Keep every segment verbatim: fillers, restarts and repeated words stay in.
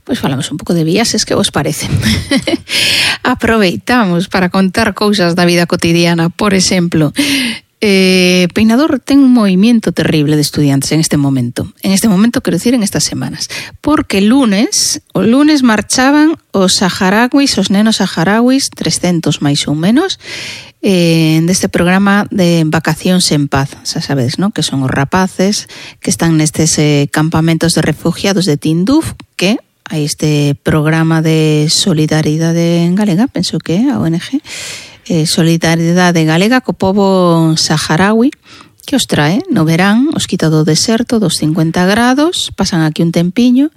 pois falamos un pouco de viaxes, que vos parece? Aproveitamos para contar cousas da vida cotidiana. Por exemplo, eh, Peinador ten un movimiento terrible de estudiantes en este momento. En este momento, quero dicir, en estas semanas. Porque lunes, o lunes marchaban os saharauis, os nenos saharauis, trescentos máis ou menos, eh, deste programa de Vacacións en Paz. Xa sabedes, non? Que son os rapaces que están nestes eh, campamentos de refugiados de Tinduf, que hai este programa de solidaridade galega, penso que é a O N G, Eh, Solidaridade Galega co pobo saharaui, que os trae no verán, os quita do deserto dos cincuenta grados, pasan aquí un tempiño,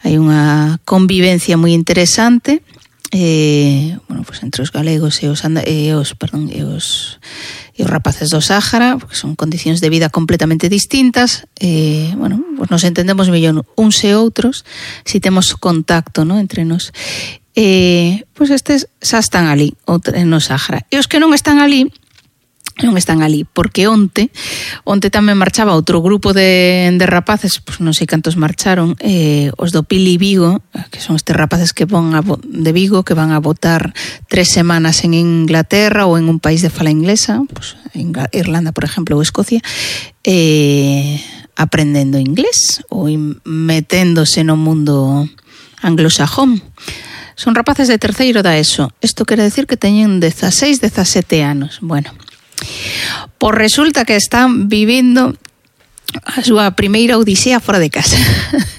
hai unha convivencia moi interesante, eh, bueno, pues entre os galegos e os, anda, e os, perdón, e os, e os rapaces do Sáhara, porque son condicións de vida completamente distintas, eh, bueno, pues nos entendemos mellor uns e outros si temos contacto, ¿no?, entre nos. Eh, pois estes xa están ali no Sáhara, e os que non están ali non están ali, porque onte onte tamén marchaba outro grupo de, de rapaces, pois non sei cantos marcharon, eh, os do Pili Vigo, que son estes rapaces que van a, de Vigo, que van a votar tres semanas en Inglaterra ou en un país de fala inglesa, pois en Irlanda, por exemplo, ou Escocia, eh, aprendendo inglés ou meténdose no mundo anglosajón. Son rapaces de terceiro da ESO. Isto quere decir que teñen dezaseis, dezasete anos. Bueno, pois resulta que están vivindo a súa primeira odisea fora de casa.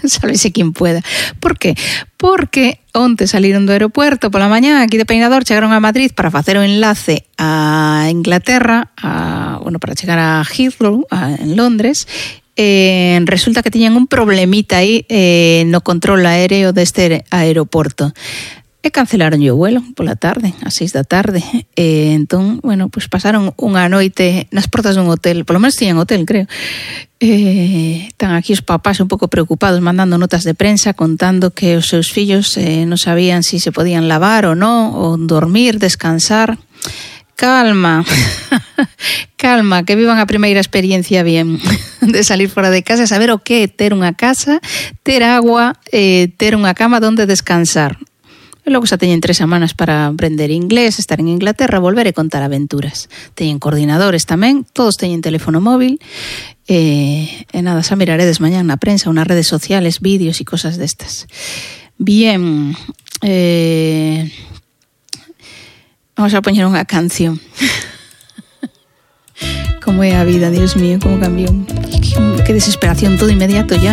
Sábese quen pueda. Por que? Porque onte saliron do aeropuerto pola mañá, aquí de Peinador, chegaron a Madrid para facer o enlace a Inglaterra, a, bueno, para chegar a Heathrow, a, en Londres. Eh, resulta que tiñan un problemita aí eh, no control aéreo deste aeroporto e cancelaron o vuelo pola tarde, ás seis da tarde. Eh, entón, bueno, pues pasaron unha noite nas portas dun hotel, polo menos tiñan hotel, creo. Eh, están aquí os papás un pouco preocupados, mandando notas de prensa contando que os seus fillos eh, non sabían si se podían lavar ou non, ou dormir, descansar. Calma, calma, que vivan a primeira experiencia bien de salir fora de casa, saber o que é ter unha casa, ter agua, eh, ter unha cama donde descansar. E logo xa teñen tres semanas para aprender inglés, estar en Inglaterra, volver e contar aventuras. Teñen coordinadores tamén, todos teñen teléfono móvil, eh, e nada, xa miraredes mañán na prensa, ou nas redes sociales, vídeos e cosas destas. Bien, eh... vamos a poñer unha canción. Como é a vida, Dios mío, como cambiou. Que desesperación, todo inmediato ya.